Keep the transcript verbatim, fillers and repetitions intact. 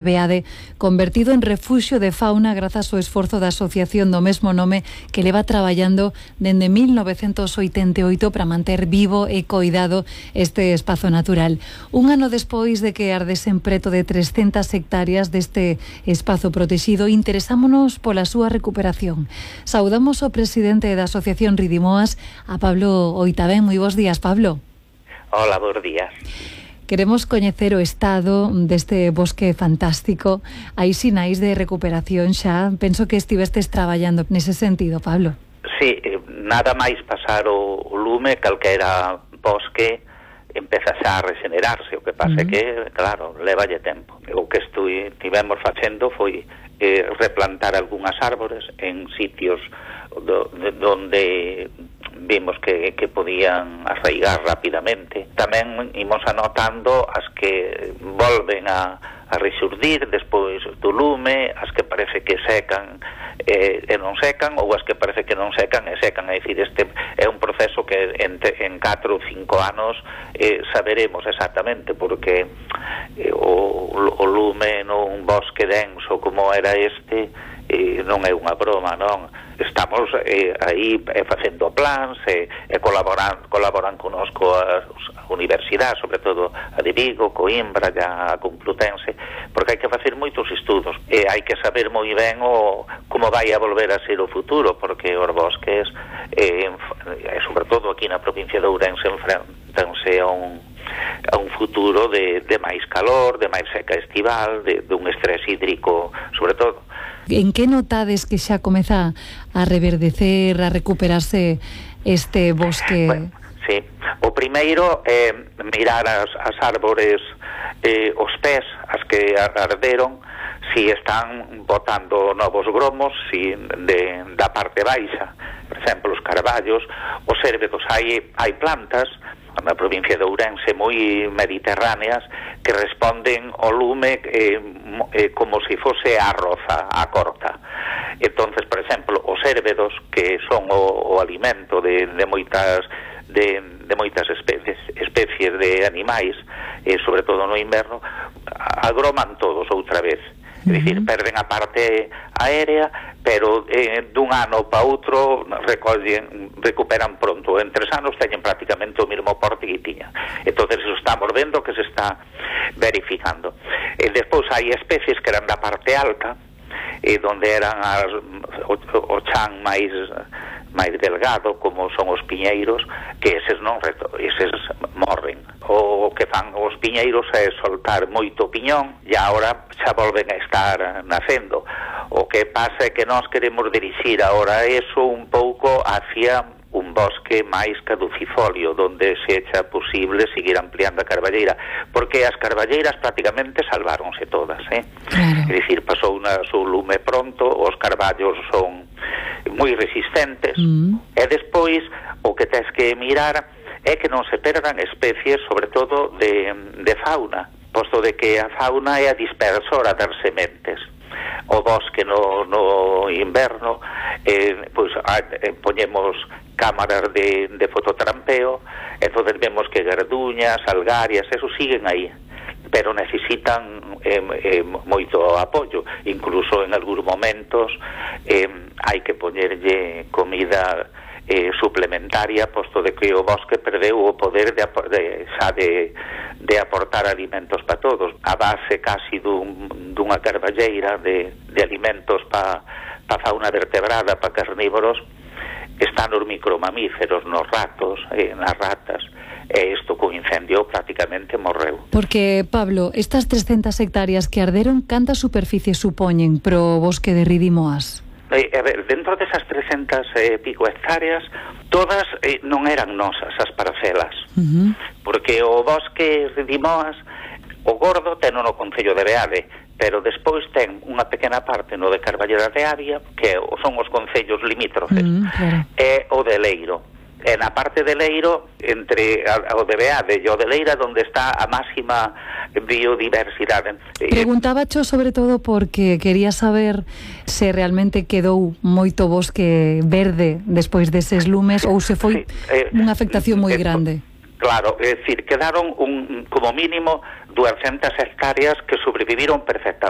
Beade, convertido en refuxio de fauna grazas ao esforzo da asociación do mesmo nome que leva traballando dende mil novecentos oitenta e oito para manter vivo e coidado este espazo natural. Un ano despois de que ardesen preto de trescentas hectáreas deste espazo protegido, interesámonos pola súa recuperación. Saudamos ao presidente da Asociación Ridimoas, a Pablo Oitabén. Moi bons días, Pablo. Hola, bons días. Queremos coñecer o estado deste bosque fantástico. Hai sinais de recuperación xa? Penso que estivestes traballando nese sentido, Pablo. Sí, nada máis pasar o lume, calquera bosque empeza xa a regenerarse. O que pasa é uh-huh. que, claro, levalle tempo. O que estivemos facendo foi eh, replantar algunhas árbores en sitios do, de, donde vimos que, que podían arraigar rapidamente. Tamén imos anotando as que volven a, a resurdir despois do lume, as que parece que secan eh, e non secan, ou as que parece que non secan e secan. É dicir, este é un proceso que en, en catro ou cinco anos eh, saberemos exactamente, porque eh, o, o lume nun bosque denso como era este eh, non é unha broma, non? Estamos eh, aí eh, facendo plans e eh, colaboran, colaboran conosco as universidades, sobre todo a de Vigo, Coimbra, a Complutense, porque hai que facer moitos estudos e hai que saber moi ben o, como vai a volver a ser o futuro, porque os bosques, eh, e sobre todo aquí na provincia de Ourense, enfrentanse a un a un futuro de, de máis calor, de máis seca estival, de, de un estrés hídrico, sobre todo. En que notades que xa comeza a reverdecer, a recuperarse este bosque? Bueno, sí. O primeiro é eh, mirar as, as árbores, eh, os pés, as que arderon, si están botando novos gromos, si de, da parte baixa, por exemplo, os carballos, os érbedos. Hai, hai plantas na provincia de Ourense moi mediterráneas que responden ao lume eh, eh, como se fose a roza, a corta. Entonces, por exemplo, os érbedos, que son o, o alimento de, de moitas de, de moitas especies, especies de animais, eh, sobre todo no inverno, agroman todos outra vez. É dicir, perden a parte aérea, pero eh, dun ano para outro recollen, recuperan pronto. En tres anos teñen prácticamente o mesmo porte que tiñan. Entonces eso estamos vendo que se está verificando. E despois hai especies que eran da parte alta, e donde eran as, o, o chan máis máis delgado, como son os piñeiros, que eses non eses morren. O que fan os piñeiros é soltar moito piñón e agora xa volven a estar nacendo. O que pasa é que nós queremos dirixir agora eso un pouco hacia un bosque máis caducifolio, donde se echa posible seguir ampliando a carballeira, porque as carballeiras prácticamente salváronse todas, eh? Claro. É dicir, pasou na su lume pronto, os carballos son moi resistentes, mm. e despois o que tens que mirar é que non se perdan especies, sobre todo de, de fauna, posto de que a fauna é a dispersora das sementes. O bosque no, no inverno, eh, pois eh, poñemos cámaras de, de fototrampeo, entonces vemos que garduñas, algarias, eso siguen aí, pero necesitan eh, eh, moito apoio. Incluso en algúns momentos eh, hai que poñerlle comida eh, suplementaria, posto de que o bosque perdeu o poder de, de, xa de, de aportar alimentos para todos. A base casi dun, dunha carballeira de, de alimentos para pa fauna vertebrada, para carnívoros, están os micromamíferos, nos ratos, eh, nas ratas, e isto co incendio prácticamente morreu. Porque, Pablo, estas trescentas hectáreas que arderon, canta superficie supoñen pro bosque de Ridimoas? Eh, a ver, dentro desas trescentas e eh, pico hectáreas, todas eh, non eran nosas as parcelas, uh-huh. porque o bosque Ridimoas, o gordo ten no Concello de Beade, pero despois ten unha pequena parte no de Carballera de Avia, que son os concellos limítrofes, mm, claro. e o de Leiro. E na parte de Leiro, entre o de Beade e o de Leira, onde está a máxima biodiversidade. Preguntaba cho sobre todo porque quería saber se realmente quedou moito bosque verde despois deses lumes ou se foi sí, eh, unha afectación moi grande. Claro, é dicir, quedaron un, como mínimo doscientas hectáreas que sobreviviron perfectamente.